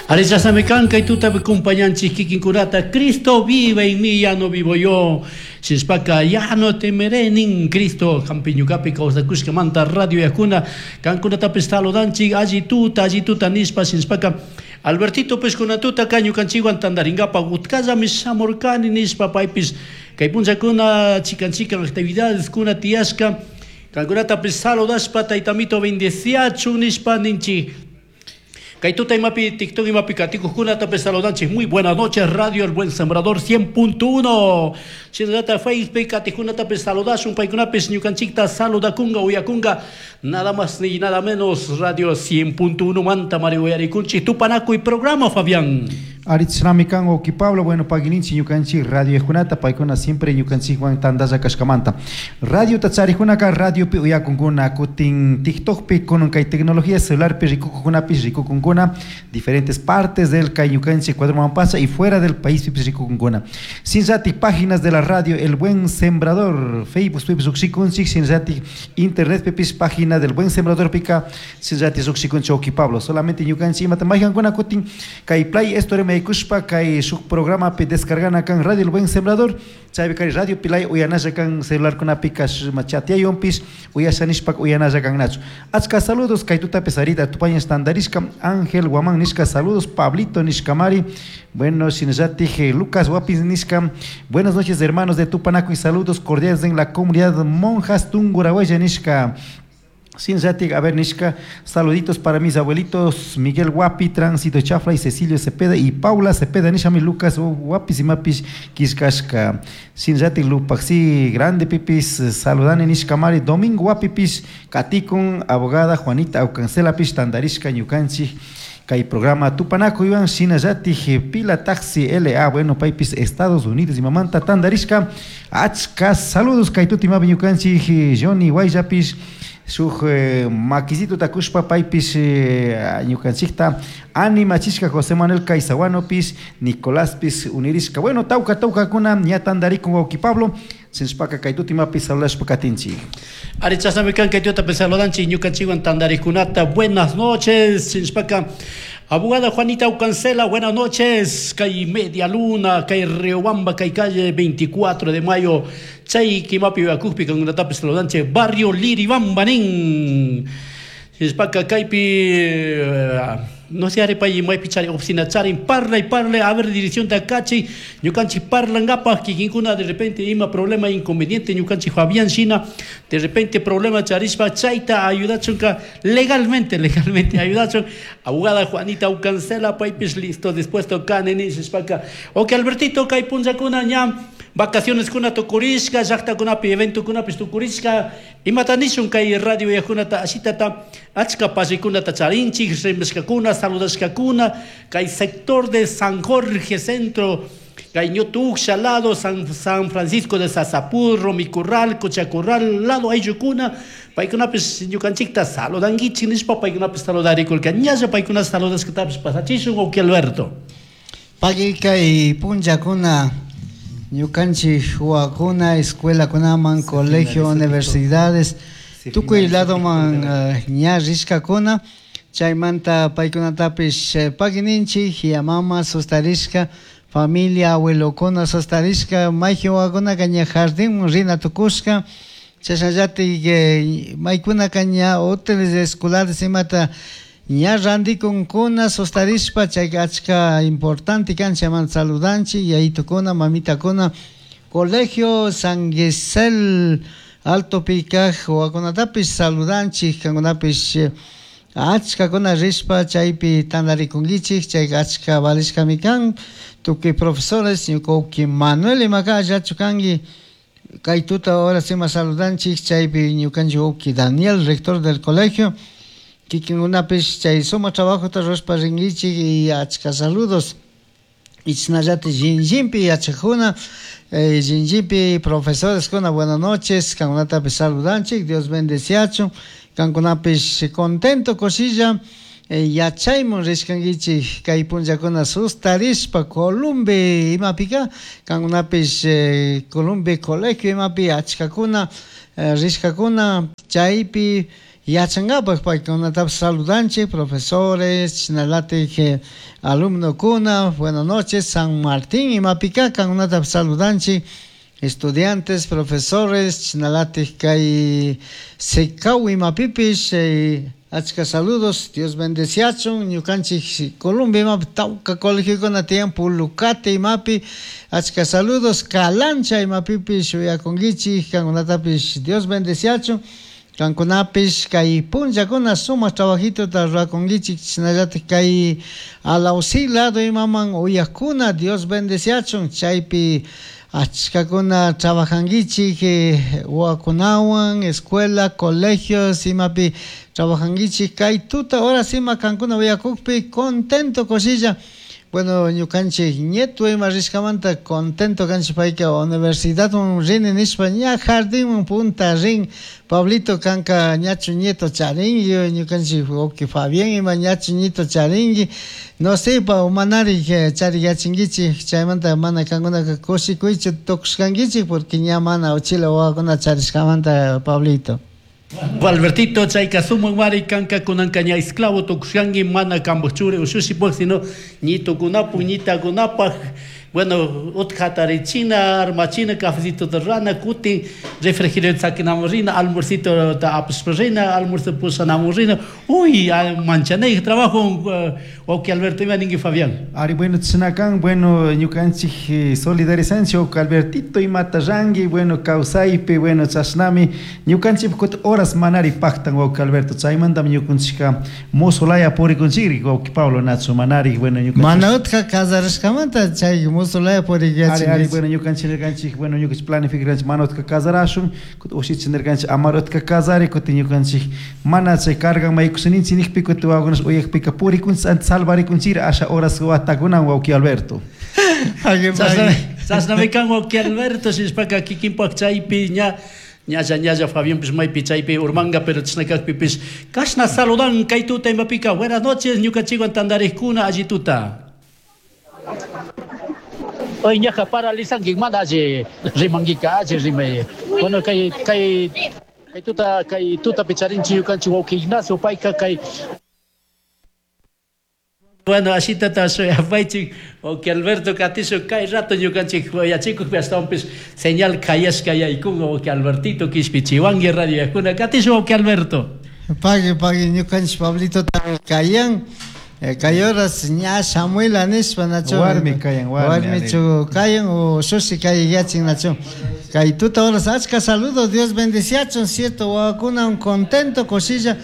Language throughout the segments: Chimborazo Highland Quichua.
Arisasami kan kay tutapi kumpañanchik kikinkunata Cristo vive en mí, ya no vivo yo. Shinashpaka ya no temeré nin Cristo hampi ñukapi kawsakushkamanta radio yakuna kankunatapish saludanchik alli tuta alli tuta nishpa shinashpaka Albertito pish kunan tutaka ñukanchikwan tantarinkapak utkallami shamurkani nishpa paypish kay punllakuna chikan chikan actividadeskuna tiyashka kankunatapish saludashpa taytamito bendeciachun nishpa ninchik. Kay tuta imapi TikTok imapi katikuqkunatapish saludanchik. Muy buenas noches, Radio El Buen Sembrador 100.1. Shinallata Facebook katikuqkunatapish saludashun, paykunapish ñukanchikta saludakunga, uyakunga. Nada más ni nada menos Radio 100.1 manta mari uyarikunchik tupanakuy programa, Fabián. Aritznami kan Oki Pablo, bueno, pagininchi ñukanchik radio kunata, paykuna siempre ñukanchikwan tantalla kashkamanta. Radio tacharijkunaka radiopi uyakunkuna, kutin TikTokpi kunan kay tecnología celularpi rikukunapish rikukunkuna, diferentes partes del kay ñukanchik Ecuador Mampasa y fuera del país pipis rikukunkuna. Shinllatik páginas de la radio El Buen Sembrador, Facebook pipis rukshikunchik, shinllatik internet pipis página del Buen Sembrador pika, shinllatik rukshikunchik Oki Pablo. Solamente ñukanchik imata maykankuna kutin kay Play Store maykushpa kay shuk programapi descargana kan Radio El Buen Sembrador, chaypi kay radio pilay uyanalla kan celularkunapika chatiyayunpish uyasha nishpa uyanalla kannachu. Achka saludos kay tutapi sarita tupañas tandarishka Ángel Guamán nishka saludos Pablito nishkamari, bueno, shinallatik Lucas Guapis nishka, buenas noches hermanos de Tupanaco y saludos cordiales en la comunidad Monjas Tungurahua nishka. Shinllatik, a ver, nishka, saluditos para mis abuelitos Miguel Guapi, Tránsito Chafla y Cecilio Cepeda y Paula Cepeda, nishami Lucas Guapis y Mapis Kishkashka. Shinllatik Lupaxi, grande pipis, saludani nishka mari, Domingo Guapipis, Katikun, abogada Juanita Aucancela pis, Tandarishka, ñukanchik, kay programa Tupanaco Iván Shinallatik Pila Taxi LA, bueno, paypis Estados Unidos y mamanta Tandarishka, achka saludos kay tutimapi ñukanchik Johnny Guayllapis, shuk makisito takushpa paypis ñukanchikta animachishka José Manuel Caizahuanopis, Nicoláspis unirishka, bueno, tawka tawkakuna ña tandarikun wawki Pablo, sinshpaka kay tutimapi saludashpa katinchik. Ari chashnami kan kay tutapi saludanchik ñukanchikwan tantarikunata, buenas noches, sinshpaka abogada Juanita Aucancela, buenas noches, kay Media Luna, kay Riobamba, kay calle 24 de mayo, chay kimapi uyakukpi kankunatapish saludanchik, barrio Liribamba nin. Sinshpaka kaypi no sé, arepa y maypi chari oficina charin, parla y parla, a ver dirección de acachi, ñukanchik parlankapaj, kikinkuna de repente ima problema inconveniente, ñukanchik Fabián China, de repente problema charishpa, chayta ayudachunka legalmente, legalmente ayudachun, abogada Juanita Aucancela, paypish listo, dispuesto kanini, sinshpaka, ok Albertito, kay punllakuna ña, vacaciones kuna tukurishka, llaqtakunapi eventokunapish tukurishka, imata nishun kay radio yakunata ashitata, achka pasikunata charinchik, rimashkakuna, saludashkakuna, kay sector de San Jorge Centro, kay Ñutuksha lado, San Francisco de Sasapurro, Micurral, Cochacurral, lado ayllukuna, paykunapish ñukanchikta saludankichik nishpa paykunapish saludarikurka, ñalla paykuna saludashkatapish pasachishun, ok Alberto. Pagui kay punllakuna ñukanchik huakuna, escuelakunaman, colegio, universidades, tukuy ladoman ña rishkakuna, chaymanta paykunatapish pagininchik, yamama sustarishka, familia, abuelokuna sustarishka, mayjin wawakunaka ña jardinman rina tukushka, chashnallatik maykunaka ña hoteles escolares imata ña randikunkuna sustarishpa, chayka achka importante kan, chaymanta saludanchik, yayitukuna, mamitakuna, colegio San Gisel Alto Pikaj wawakunatapish saludanchik, kankunapish achkakuna rishpa chaypi tantarikunkichik, chayka achka valishkami kan, tukuy profesores, ñuka uki Manuel imaka allachu kanki, kay tuta ahora sima saludanchik, chaypi ñukanchik uki Daniel, rector del colegio, kikinkunapish chay suma trabajota rurashpa rinkichik y achka saludos. Ichnallati Shinllinpi yachakuna, Shinllinpi profesores kuna, buenas noches, kankunatapish saludanchik, Dios bendeciachun, kankunapish contento kushilla, yachaymun rishkankichik kay punllakuna sustarishpa Columbe imapika, kankunapish Columbe colegio imapi achkakuna rishkakuna, chaypi Yachankapak paykunatapish saludanchik, profesores, chashnalatik alumnokuna, buenas noches, San Martín imapika kankunatapish saludanchik, estudiantes, profesores, chashnalatik kay Secau imapipish, achka saludos, Dios bendeciachun, ñukanchik Colombia imapi tawka colegiokuna tiyan, Pulucate imapi, achka saludos, Calancha imapipish uyakunkichik, kankunatapish Dios bendeciachun, kankunapish kay punllakuna sumak trabajitota rurakunkichik, chashnallatik kay Alausí lado imaman uyakuna, Dios bendeciachun, chaypi achkakuna trabajankichik, wawakunawan, escuela, colegios imapi trabajankichik, kay tuta horas ima kankuna uyakukpi contento kushilla. Bueno, ñukanchik nieto ima rishkamanta contento kanchik, payka universidadman rini nishpa ña jardinman punta rin. Pablito, kanka ñachu nieto charingui? Ñukanchik wawki Fabián ima ñachu nieto charingui? No sé, pa manari chariyachinkichik, chaymanta mana kankunaka kushikuychu tukushkankichik, porque ña mana uchila wawakuna charishkamanta, Pablito. Albertito, chayka sumak mari kanka kunanka ña esclavo tukushkanki, mana kanpak churi ushushipuk, sino ñitukunapuk, ñitakunapaj. Bueno, utka hatarichina, armachina, cafecito rurana, kutin refrigerador sakinamun rina, almuercito apashpa rina, almuerzo pushanamun rina. Uy, manchanay trabajo, wawki Alberto, ima ninki, Fabián? Ari, bueno, chashnakan, bueno, ñukanchik solidarizanchik, wawki Albertito, imata ranki, bueno, kawsaypi, bueno, chashnami ñukanchik kutin horas manari paktan, wawki Alberto, chaymantami ñukanchikka mozo laya purikunchikri, wawki Pablo, nachu manari, bueno, ñukanchik Mana utka casarashkamanta chay mozo laya Ari, ari, bueno, ñukanchik nirkanchik, bueno, ñukanchik planificarkanchik mana utka casarashun, kutin ushichi nirkanchik amar utka casari, kutin ñukanchik mana chay cargan maykushaninchik nijpi, kutin wawakunash uyakpika purikunchik, antes salvarikunchikri asha horas watakunan, wawki Alberto. Chashnami kan, wawki Alberto, shinashpaka kikinpak chaypi ña ñalla ñalla Fabianpish maypi chaypi urmanga, pero chashna kakpipish kashna saludan kay tuta imapika. Buenas noches, ñukanchikwan tantarikkuna, alli tuta. Oy, ñaja paralizanki, mana alli rimankika, alli rimay. Bueno, kay kay kay tuta kay tutapi charinchik ñukanchik wawki Ignacio, payka kay. Bueno, ashitata shuyapaychik, wawki Alberto, katishu kay rato ñukanchik yachikukpi ashtawanpish señal kayashka yaykunga, wawki Albertito, kishpichiwanki radio yakuna, katishu, wawki Alberto. Pagui, pagui, ñukanchik Pablito kayan, kay horas ña Samuela nishpa, nachu? Warmi kayan, warmi. Warmichu kayan o shushi kay yachin, nachu? Kay tuta horas achka saludos, Dios bendeciachun, cierto, wawakuna un contento kushilla.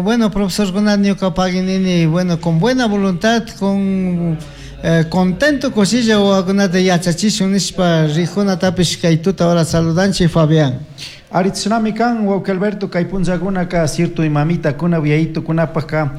Bueno, profesor kuna ñuka pagui nini, bueno, con buena voluntad, con contento kushilla wawakunata yachachishun nishpa rijunatapish kay tuta hora saludanchik, Fabián. Ari, chashnami kan, wawki Alberto, kay punllakunaka cierto mamitakuna yayitukunapaka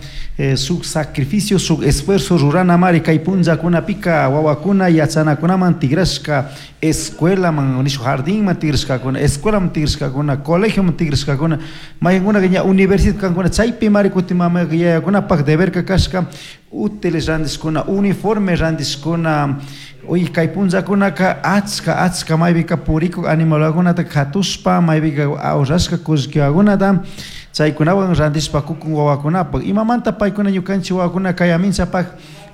shuk sacrificio, shuk esfuerzo ruranamari kay punllakunapika wawakuna yachanakunaman tigrashka, escuelaman nishu jardinman tigrashkakuna, escuelaman tigrashkakuna, colegioman tigrashkakuna, maykankunaka ña universidad kankuna, chaypi mari kutin mama yayakunapak deberka kashka útiles randishkuna, uniforme randishkuna. Uy, kay punllakunaka achka achka maypika purikuk animalkunata katushpa maypika ahorrashka kullkiwakunata chaykunawan randishpa kukun wawakunapak. Imamanta paykuna ñukanchik wawakuna kay aminchapak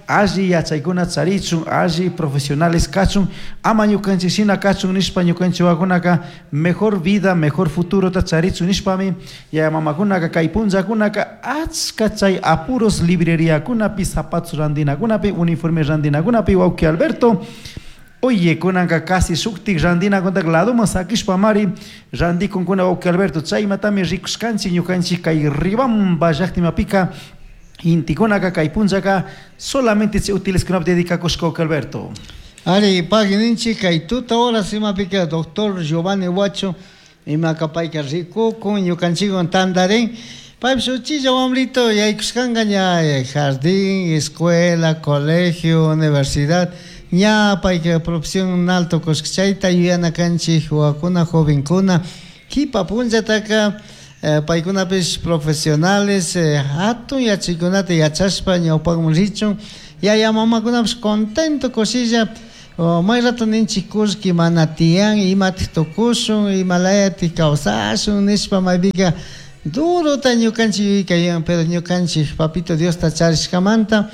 alli yachaykuna charichun, alli profesionales kachun, ama ñukanchik shina kachun nishpa, ñukanchik wawakunaka mejor vida, mejor futurota charichun nishpami yaya mamakunaka kay punllakunaka achka chay apuros libreriakunapi, zapatos randinakunapi, uniforme randinakunapi, wawki Alberto. Oye, kunanka casi shuktik randinakunata ladoman sakishpamari randikunkuna, wawki Alberto, chaymatami rikushkanchik ñukanchik kay Riobamba llaktimapika intikunaka kay punllaka solamente chay útileskunapi dedicakushka, wawki Alberto. Ari, pagui ninchik kay tuta horas imapika doctor Giovanni Huacho imaka payka rikukun ñukanchikwan tantarin, paypish uchilla wambrito yaykushkanka ña jardín, escuela, colegio, universidad, ña payka profesional tukushka. Chayta yuyana kanchik wawakuna, jovenkuna, kipa punllataka paykunapish profesionales, hatun yachaykunata yachashpa ñawpakman richun, yaya mamakunapish contento kushilla. May rato ninchik kullki mana tiyan, imatik tukushun, imalayatik kawsashun nishpa maypika. Durota ñukanchik yuyayka pero ñukanchik papito Diosta charishkamanta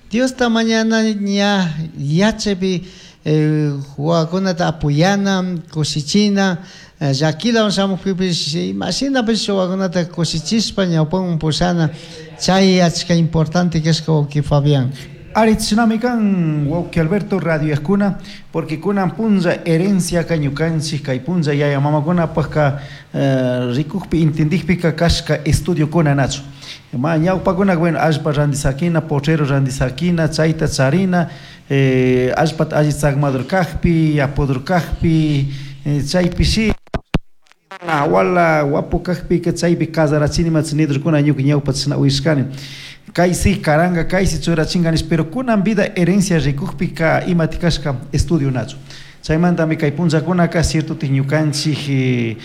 Diosta mañana ña yachaypi wawakunata apoyana kushichina llakilawan shamukpipish imashinapish wawakunata kushichishpa ñawpaman pushana chay achka importante kashka wawki Fabián. Ari chishnami kan wawki Alberto radioyajkuna porque kunan punlla herenciaka ñukanchik kay punlla yaya mamakunapakka rikukpi entendikpika kashka estudiokuna nachu ma ñawpakuna bueno allpa randisakina potrero randisakina chayta charina allpata alli tzakmadur kakpi yapudur kakpi chaypishi wala wapu kakpika chaypi casarachini nidurkuna ñuka ñawpa chashna uyashkani kaysi karanga kaysi churachinga nish pero kunan vida herencia rikukpika imati kashka estudio nachu chaymantami kay punllakunaka ciertotik ñukanchik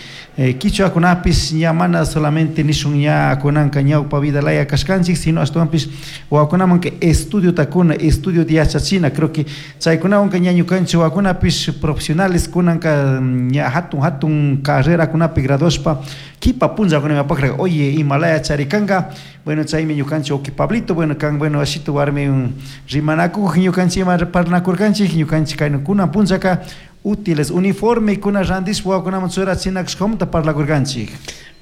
kichwakunapish ña mana solamente nishun ña kunanka ñawpa vida laya kashkanchik sino ashtawanpish wawakunamanka estudiota kuna estudiota yachachina creo que chaykunawanka ña ñukanchik wawakunapish profesionales kunanka ña hatun hatun carrerakunapi graduashpa kipa punllakuna imapakra oye imalaya charikanka bueno chaymi ñukanchik wawki Pablito bueno kan bueno ashitu warmi rimanakuk ñukanchik ima parlanakurkanchik ñukanchik kayna kunan punllaka útiles uniforme kuna randishpa wawakunaman churachinakashkamanta parlakurkanchik.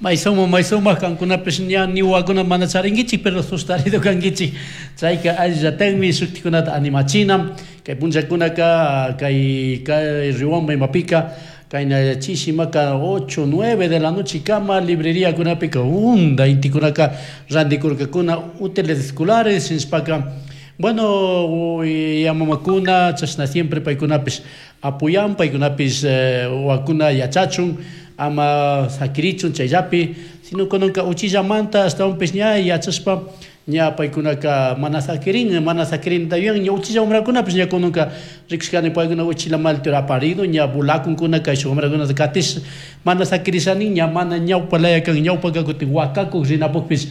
Maysuma maysuma kankunapish ña ni wawakuna mana charinkichik pero sustarido kankichik chayka allillatakmi shuktikunata animachina kay punllakunaka kay kay Riobamba imapika kayna chishimaka 8 9 de la noche kama libreriakunapika hunda intikunaka randikurkakuna útiles escolares nishpaka bueno yamamakuna chashna siempre paykunapish apoyan paykunapish wawakuna yachachun ama sakirichun chayllapi sino kunanka uchillamanta ashtawanpish ña yachashpa ña paykunaka mana sakirin mana sakirinta yuyan ña uchilla wamrakunapish ña kunanka rikushkani paykuna uchilla maltura aparido ña volakunkuna kayshuk wamrakunata katish mana sakirishanin ña mana ñawpa laya kan ñawpaka kutin wakakuk rinapukpish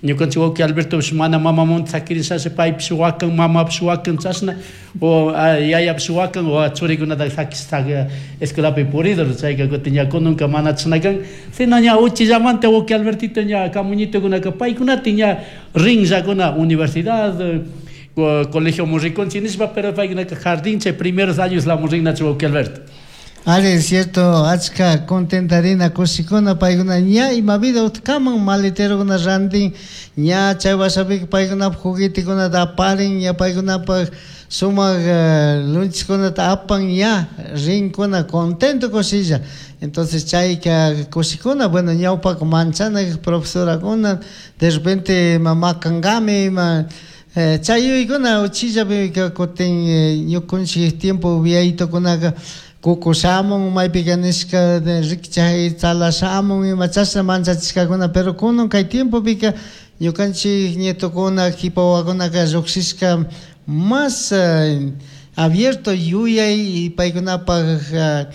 ñukanchik wawki Albertopish mana mamamanta sakirishashi paypish wakan mamapish wakan chashna o yayapish wakan o churikunata sakish escuelapi puridur chayka kutin ña kunanka mana chashna kan sino ña uchillamanta wawki Albertito ña kamuñitokunaka paykunata ña rinllakuna universidad colegio rikunchik nishpa pero paykunaka jardín chay primeros años la rinnachu wawki Alberto. Ari, es cierto, achka contentarina kushikuna paykuna ña ima vida utkaman maleterokuna rantin ña chay wasapika paykunapak juguetekunata aparin ña paykunapak sumak lunchkunata apan ña rinkuna contento kushilla entonces chayka kushikuna bueno ñawpaka manchana profesorakuna de repente ima makankami ima chay yuyaykuna uchillapi kutin ñukunchik tiempo viayitukunaka kuku shamun maypika nishka rikchay tzala shamun ima chashna manchachishkakuna pero kunan kay tiempopika ñukanchik nietokuna kipa wawakunaka llukshishka más abierto yuyay y paykunapak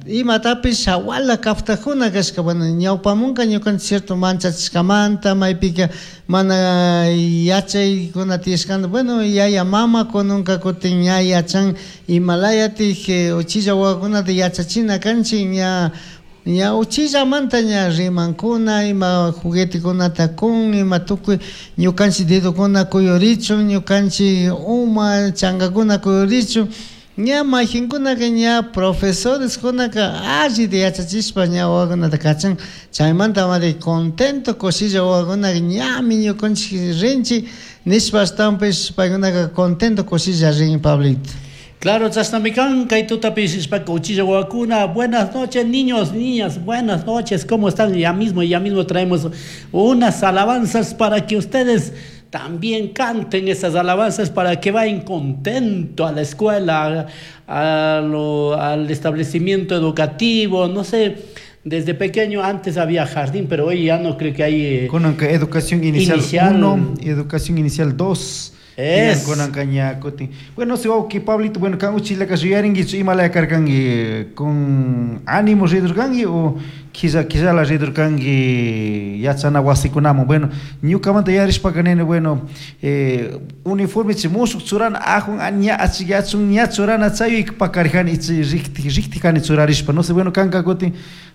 imatapish hawala kaptakuna kashka bueno ñawpamunka ñukanchik cierto manchachishkamanta maypika mana yachaykuna tiyashkanta bueno yaya mama kunanka kutin ña yachan imalayatik uchilla wawakunata yachachina kanchik ña ña uchillamanta ña rimankuna ima juguetekunata kun ima tukuy ñukanchik dedokuna kuyurichun ñukanchik uma chankakuna kuyurichun ña mayjinkunaka ña profesoreskunaka allita yachachishpa ña wawakunata kachan chaymanta mari contento kushilla wawakunaka ñami ñukanchik rinchik nishpa ashtawanpish paykunaka contento kushilla rin Pablito. Claro, chashnami kan kay tutapi nishpaka uchilla wawakuna buenas noches niños, niñas, buenas noches, ¿cómo están? Ya mismo traemos unas alabanzas para que ustedes también canten esas alabanzas para que vayan contento a la escuela, al establecimiento educativo, no sé. Desde pequeño antes había jardín, pero hoy ya no creo que hay... Con educación inicial 1, educación inicial 2. Es. Bueno, si wawki Pablito, bueno, kan uchilla ka yuyarinkichu imalaya karkanki con ánimo ridurkanki o Killa killala ridurkanki yachana wasikunaman. Bueno, ñukamanta yarishpaka nini, bueno, uniforme chi mushuk churana ajun ña achikyachun ña churana chay pakarijani ichi riktikani churarishpa. No sé, bueno, kanka kutin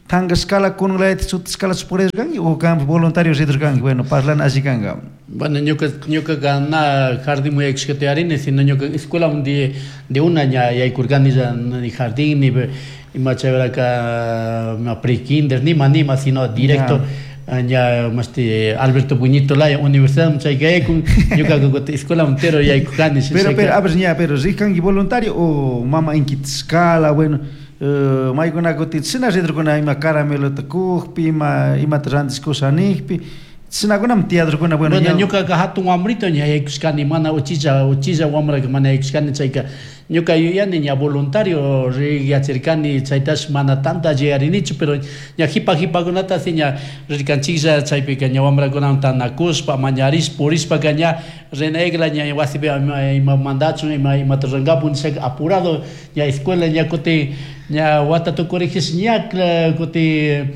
tankashkala kununlayata chutishkalachu purirkanki o kan voluntario ridurkanki? Bueno, parlana alli kanka. Bueno, ñukaqa na jardín yaykushkata yarini, sino ñuka escuela de una ña yaykurkani ya ni jardín ni ima chayraka pre-kinder nima nima, sino directo ña mashti Alberto Buñito laya universidad chayka yaykun, ñukaqa kutin escuela entero yaykukani. Pero, a ver, ña, pero rikanki voluntario o mama inkitishkala, bueno, maykuna kutin shina ridurkuna ima caramelota kukpi, ima imata rantishkusha nijpi, shinakunami tiyadurkuna, bueno. Bueno, ñukaqa hatun wamrito ña yaykushkani, mana uchilla uchilla wamraka mana yaykushkani. Chayka ñuka yuyani ña voluntario yachirkani, chaytash mana tanta yuyarinichu, pero ña jipa jipakunata si ña rirkanchiklla. Chaypika ña wamrakunawan tanakushpa mañarishpa purishpaka ña renegla ña wasipi ima mandachun ima imata rurankapu nishaka apurado ña escuela ña kutin ña wata tukurijish ña kutin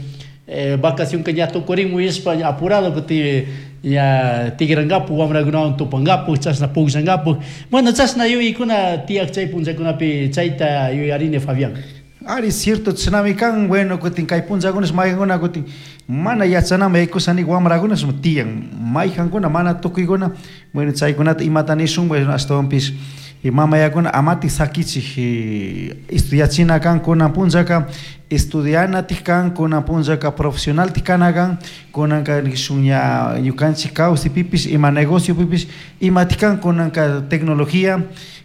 vacación ka ña tukurin muyashpa apurado kutin ña tigrankapu wamrakunawan tupankapu chashna pukllankapu. Bueno, chashna yuyaykuna tiyak chay punllakunapi, chayta yuyarini, Fabián. Ari, cierto, chashnami kan. Bueno, kutin kay punllakunash maykankuna kutin mana yachanaman yaykusha wamrakunash tiyan maykankuna, mana tukuykuna. Bueno, chaykunata imata nishun? Bueno, ashtawanpish mamayakuna amatik sakichik, estudiachina kan. Kunan punllaka estudianatik kan, kunan punllaka profesionaltik kana kan. Kunanka nishun ña ñukanchik kawsaypipish ima negociopipish imatik kan kunanka tecnología,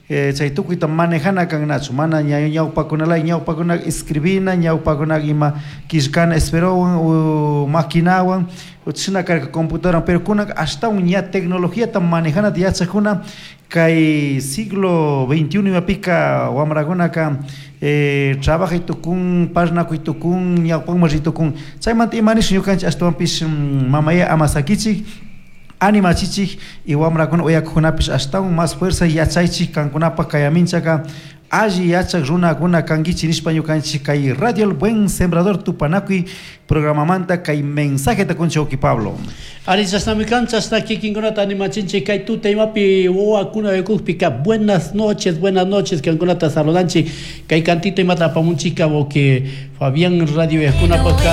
chay tukuyta manejana kan, nachu mana ña ñawpakunalaya, ñawpakunaka escribina, ñawpakunaka ima killkana esferowan o maquinawan chashna karka, computadora, pero kunanka ashtawan ña tecnologiata manejanata yachakuna. Kay siglo XXI imapika wamrakunaka trabajay tukun, parlanakuy tukun, ñawpakman ri tukun. Chaymanta ima nishun ñukanchik? Ashtawanpish mamaya ama sakichik, animachichik y wamrakuna uyakukunapish ashtawan más fuerza yachaychik, kankunapak kayaminchaka alli yachak runakuna kankichik nishpa ñukanchik kay Radio El Buen Sembrador Tupanakuy programamanta kay mensajeta kunchik, wawki Pablo. Ari, chashnami kan, chashna kikinkunata animachinchik kay tuta imapi wawakuna yakukpika. Buenas noches, buenas noches, kankunata saludanchik. Kay cantito imata apamunchika, wawki Fabián, radio yakunapaka.